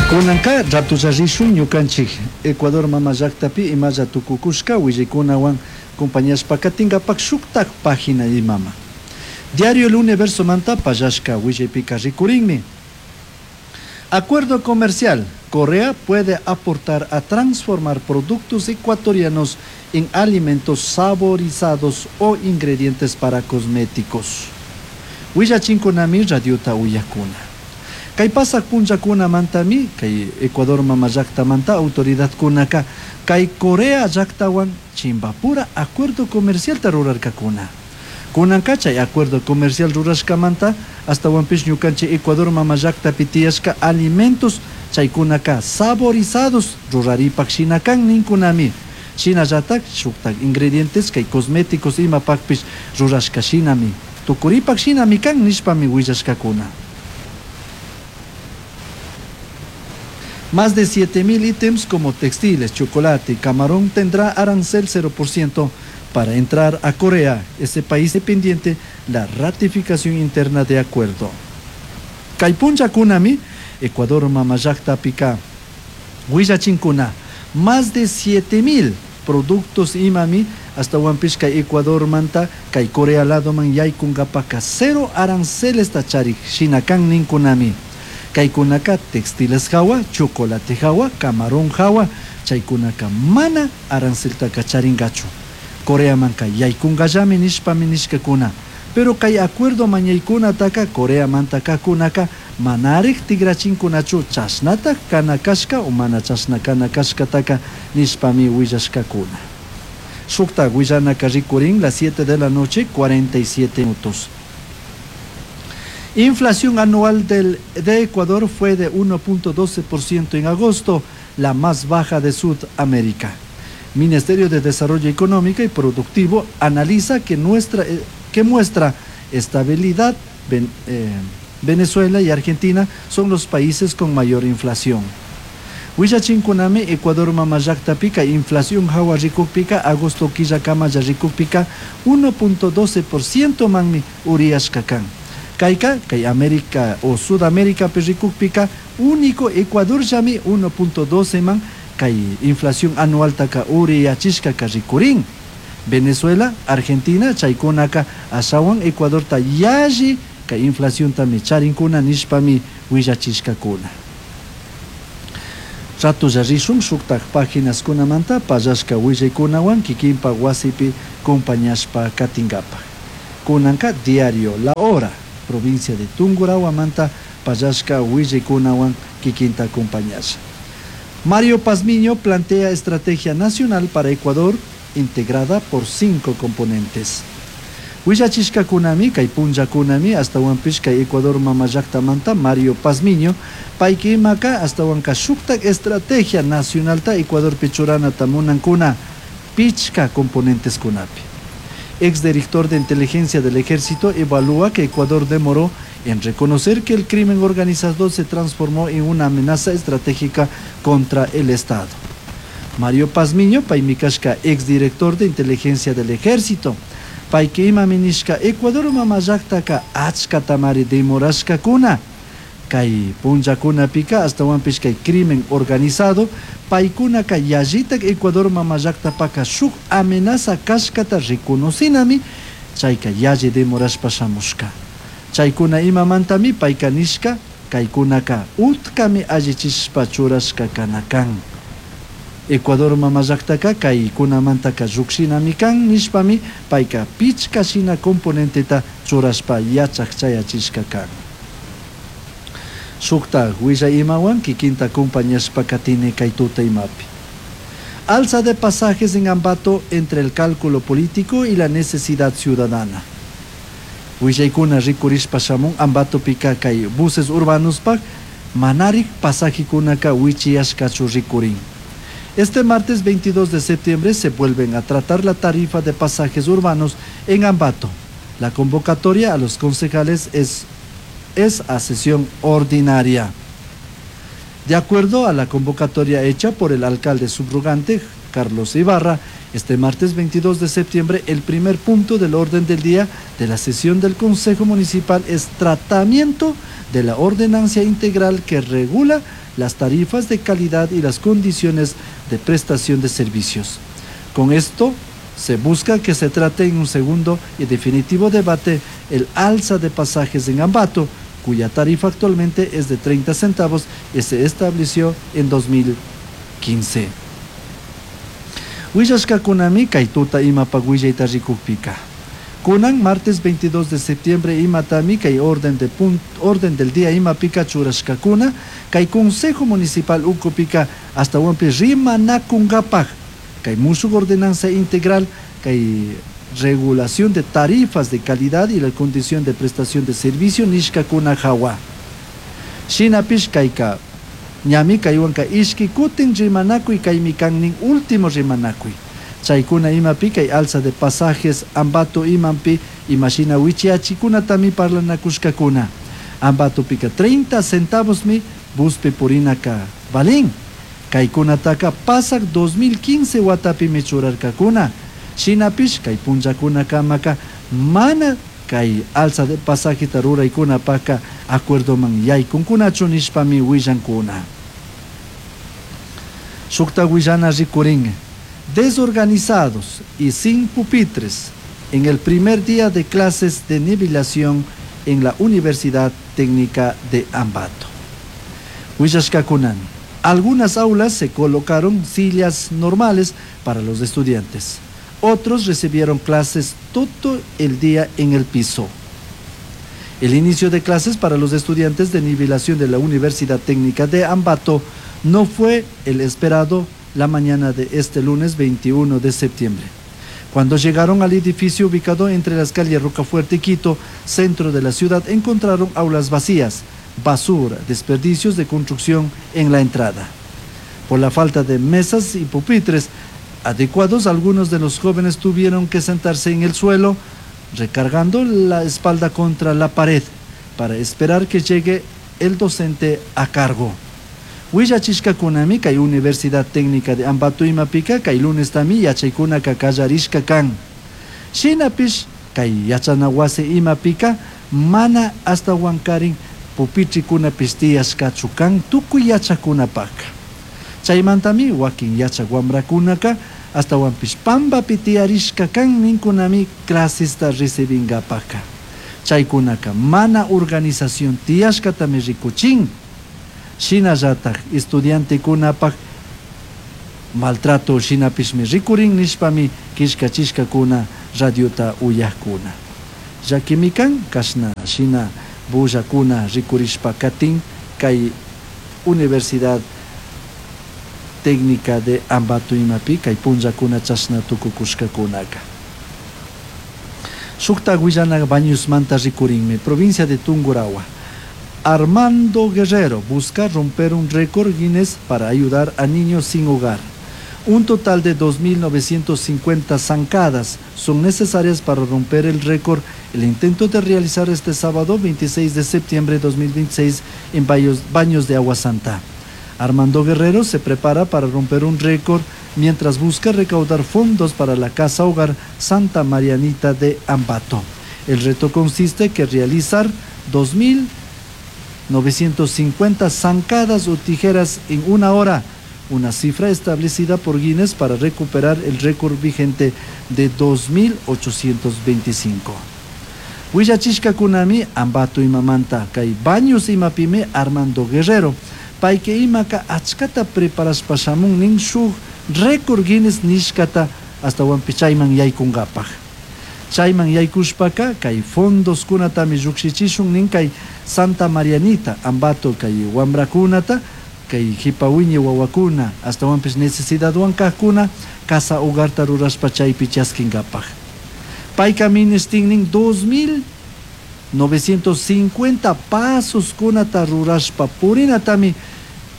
Kunanka ratolla rishun ñukanchik Ecuador mama llaktapi imalla tukukushka willaykunawan compañashpa katinkapak shuktak página imama. Diario El Universo manta pallashka willaypika rikurinmi. Acuerdo comercial. Corea puede aportar a transformar productos ecuatorianos en alimentos saborizados o ingredientes para cosméticos. Willachinkunami radiota uyakuna. Kay pasak punllakunamantami kay Ecuador mama llaktamanta autoridadkunaka kay Corea llaktawan chimbapura acuerdo comercialta rurarkakuna. Kunanka chay acuerdo comercial rurashkamanta astawanpish ñukanchik Ecuador mama llaktapi tiyashka alimentos chaykunaka saborizados ruraripak shina kan ninkunami. Shinallatak shuktak ingredientes kay cosméticos imapakpish rurashka shinami tukuripak shinami kan nishpami willashkakuna. Más de 7.000 ítems como textiles, chocolate y camarón tendrá arancel 0% para entrar a Corea, ese país dependiente la ratificación interna de acuerdo. Kay punllakunami, Ecuador mama llaktapika willachinkuna, más de 7.000 productos imami astawanpish kay Ecuadormanta kay Corea ladoman yaykunkapaka cero arancelesta charik shina kan ninkunami. Kaykunaka textiles hawa, chocolate hawa, camarón hawa, chaykunaka mana aranceltaka charinkachu. Coreamanka yaykunkallami nishpami nishkakuna. Pero kay acuerdo mañaykunataka Coreamanta kakunaka manarik tigrachinkunachu chashnatak kana kashka o mana chashna kana kashkataka nishpami willashkakuna. Shukta willanaka rikurin las 7 de la noche 47 minutos. Inflación anual de Ecuador fue de 1.12% en agosto, la más baja de Sudamérica. Ministerio de Desarrollo Económico y Productivo analiza que muestra estabilidad. Venezuela y Argentina son los países con mayor inflación. Willachinkunami Ecuador mama llaktapika inflación hawa rikukpika agosto killakama rikukpika 1.12% manmi uriyashka kan. Kayka, kay América o Sudamérica rikukpika único Ecuador llami 1.12 man kay inflación anual taka uriyachishka rikurin. Venezuela, Argentina, chaykunaka ashawan Ecuador ta yalli kay inflación tami charinkuna nishpami willachishkakuna. Ratolla rishun shuktak páginas kunamanta pallashka willaykunawan kikinpa wasipi compañashpa katinkapak. Kunanka diario La Hora, provincia de Tungurahua pallashka willaykunawan kikinta acompañasha. Mario Pazmiño plantea estrategia nacional para Ecuador integrada por 5 componentes. Willachishkakunami, kay punllakunami, astawanpish kay Ecuador mama llaktamanta Mario Pazmiño, payka imaka astawanka shuktak estrategia nacionalta Ecuadorpi churanata munankuna pichka componenteskunapi. Exdirector de Inteligencia del Ejército evalúa que Ecuador demoró en reconocer que el crimen organizado se transformó en una amenaza estratégica contra el Estado. Mario Pazmiño, paymi kashka, exdirector de Inteligencia del Ejército, payka imami nishka Ecuador mama llaktaka achkatamari demorashkakuna. Kay punllakunapika astawanpish kay crimen organizado, paykunaka yallitak Ecuador mama llaktapaka shuk amenaza kashkata reconocinami, chayka yalli demorashpa shamushka. Chaykuna imamantami payka nishka, kaykunaka utkami allichishpa churashka kana kan. Ecuador mama llaktaka kaykunamantaka llukshinami kan nishpami payka pichka shina componenteta churashpa yachak chayachishka kan. Shukta willay imawan kikinta acompañashpa katini kay tuta imapi. Alza de pasajes en Ambato entre el cálculo político y la necesidad ciudadana. Willaykuna rikurishpa shamun Ambatopika kay buses urbanos pak manarik pasajekunaka wichiyashkachu rikurin. Este martes 22 de septiembre se vuelven a tratar la tarifa de pasajes urbanos en Ambato. La convocatoria a los concejales es a sesión ordinaria. De acuerdo a la convocatoria hecha por el alcalde subrogante Carlos Ibarra, Este martes 22 de septiembre, el primer punto del orden del día de la sesión del Consejo Municipal es tratamiento de la ordenancia integral que regula las tarifas de calidad y las condiciones de prestación de servicios. Con esto se busca que se trate en un segundo y definitivo debate el alza de pasajes en Ambato, cuya tarifa actualmente es de 30 centavos y se estableció en 2015. Willashkakunami kay tuta imapak willayta rikukpika. Kunan martes 22 de septiembre imatami kay orden, de orden del día imapika churashkakuna kay Consejo Municipal ukupika ashtawanpish rimanakunkapak kay mushuk ordenanza integral kay regulación de tarifas de calidad y la condición de prestación de servicio nishkakuna hawa. Shinapish kayka ñami kaywanka ishki kutin rimanakuy kaymi kan último rimanakuy. Chaykuna imapi kay alza de pasajes Ambato imampi imashina wichiachikunatami parlanakushkakuna. Ambatopika 30 centavosmi buspi purinaka valin. Kaykunataka pasak 2015 watapimi churarkakuna. Shinapish kay punllakunakamaka mana kay alza de pasajeta ruraykunapaka acuerdoman yaykunkunachu nishpami willankuna. Shukta willana rikurin. Desorganizados y sin pupitres en el primer día de clases de nivelación en la Universidad Técnica de Ambato. Willashkakunami. Algunas aulas se colocaron sillas normales para los estudiantes. Otros recibieron clases todo el día en el piso. El inicio de clases para los estudiantes de nivelación de la Universidad Técnica de Ambato no fue el esperado la mañana de este lunes 21 de septiembre. Cuando llegaron al edificio ubicado entre las calles Rocafuerte y Quito, centro de la ciudad, encontraron aulas vacías, basura, desperdicios de construcción en la entrada. Por la falta de mesas y pupitres adecuados, algunos de los jóvenes tuvieron que sentarse en el suelo, recargando la espalda contra la pared, para esperar que llegue el docente a cargo. Willachishkakunami kay Universidad Técnica de Ambato imapika kay lunestami yachaykunaka kallarishka kan. Shinapish kay yachana wasi imapika mana ashtawankarin pupitrikunapish tiyashkachu kan tukuy yachakunapaka. Chaymantami wakin yachak wamrakunaka ashtawanpish pambapi tiyarishka kan ninkunami clasesta recibinkapaka. Chaykunaka mana organización tiyashkatami rikuchin. Shinallatak estudiantekunapak maltrato shinapishmi rikurin nishpami killkachishkakuna radiota uyajkuna. Llakimi kan kashna shina bullakuna rikurishpa katin kay Universidad Técnica de Ambato imapi kay punllakuna chashna tukukushkakunaka. Shukta willana Bañosmanta rikurinmi, provincia de Tungurahua. Armando Guerrero busca romper un récord Guinness para ayudar a niños sin hogar. Un total de 2.950 zancadas son necesarias para romper el récord. El intento de realizar este sábado 26 de septiembre de 2026 en Baños de Agua Santa. Armando Guerrero se prepara para romper un récord mientras busca recaudar fondos para la Casa Hogar Santa Marianita de Ambato. El reto consiste en que realizar 2.950 zancadas o tijeras en una hora, una cifra establecida por Guinness para recuperar el récord vigente de 2.825. Willachishkakunami Ambato imamanta kay Baños imapimi Armando Guerrero payka imaka achkata preparashpa shamun nin shuk récord Guinness nishkata ashtawanpish chayman yaykunkapak. Chayman yaykushpaka kay fondoskunatami llukshichishun nin kay Santa Marianita Ambato kay wamrakunata kay hipawiñi wawakuna ashtawanpish necesidadwan kajkuna casa hogarta rurashpa chaypi chaskinkapak. Payka ministin nin 2.950 pasoskunata rurashpa purinatami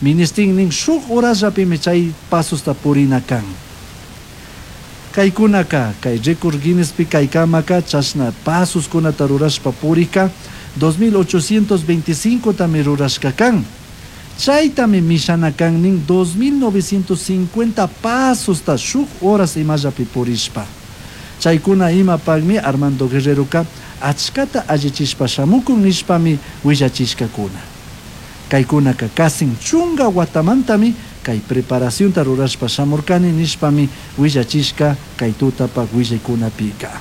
ministin nin shuk horasllapimi chay pasosta purina kan. Kaykunaka kay récord Guinnespi kaykamaka chashna pasoskunata rurashpa purika 2825 tami rurashka kan. Chaytami mishana kan nin 2950 pasosta shuk horas imallapi purishpa. Chaykuna imapakmi Armando Guerreroka achkata allichishpa shamukun nishpami willachishkakuna. Kaykunaka kasin chunga watamantami kay preparacionta rurashpa shamurkani nishpami willachishka kay tutapak willaykunapika.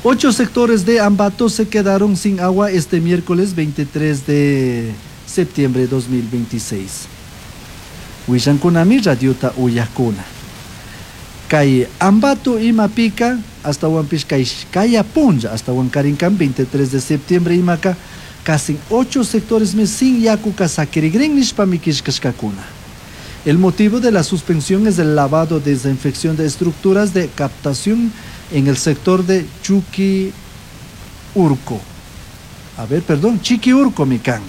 Ocho sectores de Ambato se quedaron sin agua este miércoles 23 de septiembre de 2026. Willankunami radiota uyakuna. Kay Ambato imapika ashtahuanpish kay kaya punlla ashtahuankarinkan 23 de septiembre imaka casi ocho sectores sin yakuka sakirigrin nishpami killkashkakuna. El motivo de la suspensión es el lavado desinfección de estructuras de captación en el sector de Chuqui Urco. A ver, perdón, Chiquiurco mi kan.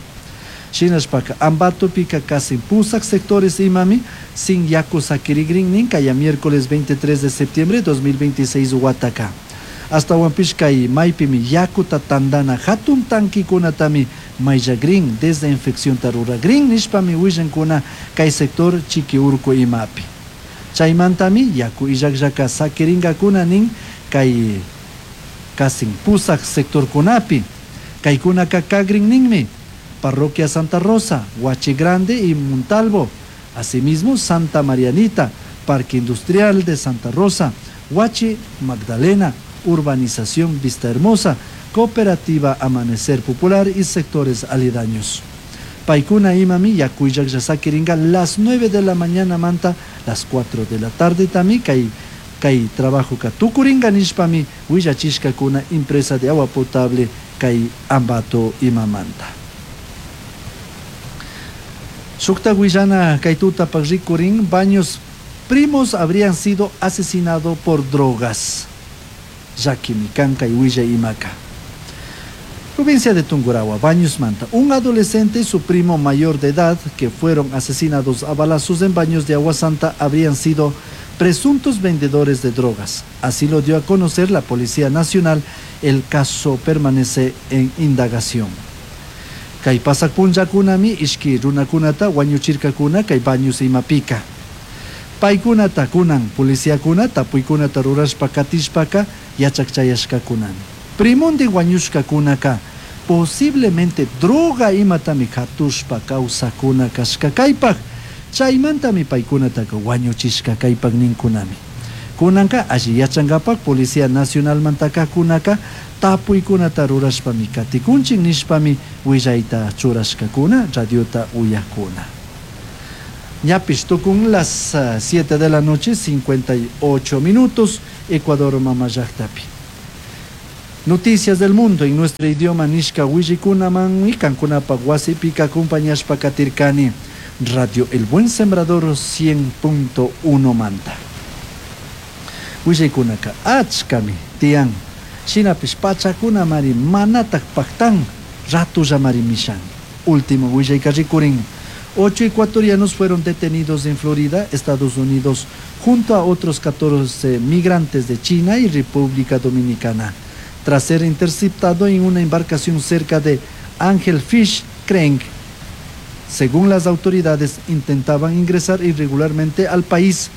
Shinashpaka Ambatopika casi pusak sectores imami sin yaku sakirigrin nin kaya miércoles 23 de septiembre de 2026 wataka. Ashtahuanpish kay maypimi yakuta tandana hatun tankikunatami mayllagrin desinfeccionta ruragrin nishpami willankuna kay sector Chiquiurco imapi. Chaymantami yaku illakllaka sakiringakuna nin kay kasin pusak sectorkunapi. Kaykunaka kagrin ninmi. Parroquia Santa Rosa, Huachi Grande y Montalvo. Asimismo, Santa Marianita, Parque Industrial de Santa Rosa, Huachi Magdalena, Urbanización Vista Hermosa, Cooperativa Amanecer Popular y sectores aledaños. Paykuna imami yaku illaklla sakiringa las 9 de la mañana manta las 4 de la tarde tami kay kay trabajo ka tukuringa nishpami willachishkakuna empresa de agua potable kay Ambato imamanta. Shukta willana kay tutapak rikurin Baños primos habrían sido asesinados por drogas. Llakimi kan kay willay imaka. Provincia de Tungurahua, Baños Manta. Un adolescente y su primo mayor de edad que fueron asesinados a balazos en Baños de Agua Santa habrían sido presuntos vendedores de drogas. Así lo dio a conocer la Policía Nacional. El caso permanece en indagación. Kay pasak punllakunami ishki runakunata wañuchirkakuna kay Baños imapika. Paykunata kunan policiakuna tapuykunata rurashpa katishpaka yachakchayashkakunami. Primonde wañushkakunaka posiblemente droga imatami hatushpa kawsakuna kashka kaypak. Chaymantami paykunataka wañuchishka kaypak ninkunami. Kunanka alli yachankapak Policía Nacionalmantaka kunaka tapuykunata rurashpami katikunchik nishpami willayta churashkakuna radiota uyakuna. Ñapish tukun las 7 de la noche, 58 minutos, Ecuador mama llaktapi. Noticias del mundo en nuestro idioma nishka willikunaman y kankunapak wasipika acompañashpa katirkani. Radio El Buen Sembrador 100.1 manta. Willaykunaka achkami tiyan. Shinapish pachakuna mari manatak paktan ratulla mari mishan. Último willayka rikurin. 8 ecuatorianos fueron detenidos en Florida, Estados Unidos, junto a otros 14 migrantes de China y República Dominicana, tras ser interceptado en una embarcación cerca de Angelfish Creek. Según las autoridades, intentaban ingresar irregularmente al país.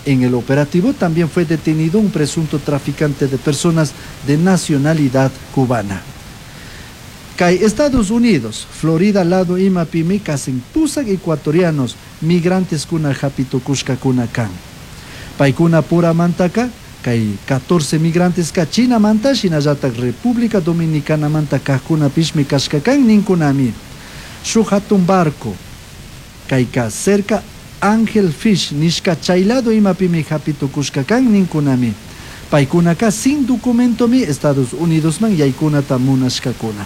En el operativo también fue detenido un presunto traficante de personas de nacionalidad cubana. Kay Estados Unidos, Florida lado imapimi kasin pusak ecuatorianos migrantes kuna hapitukushkakuna kan. Paykuna pura mantaka, kay 14 migrantes ka China manta, shinallatak República Dominicana manta kajkuna pishmi kashkakan ninkunami. Shuk hatun barco, kayka cerca Angel Fish nishka chaylado imapimi hapitukushkakan ninkunami. Paykunaka sin documentomi Estados Unidos man yaykunata munashkakuna.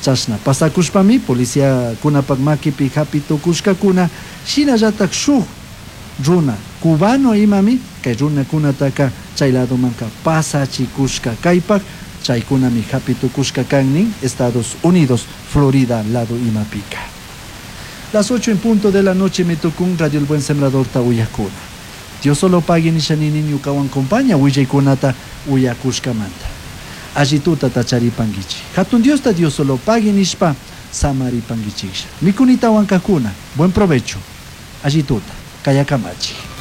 Chashna pasakushpami policía kunapak makipi hapitukushkakuna shinallatak shuk runa cubano imami kay runakunataka chay ladomanka pasachikushka kaypak chaykunami hapitukushka kan nin Estados Unidos, Florida lado imapika. Las 8 en punto de la noche me tocó un Radio El Buen Sembrador ta uyakuna. Dios solo pague ni shanini ñukawan compaña willaykunata uyakushkamanta. Allituta tacharipanguichi. Hatun Dios ta Dios solo pague nishpa. samaripanguichijlla. Micunitahuan cajcuna, buen provecho. Alli tuta. Cayakamachik.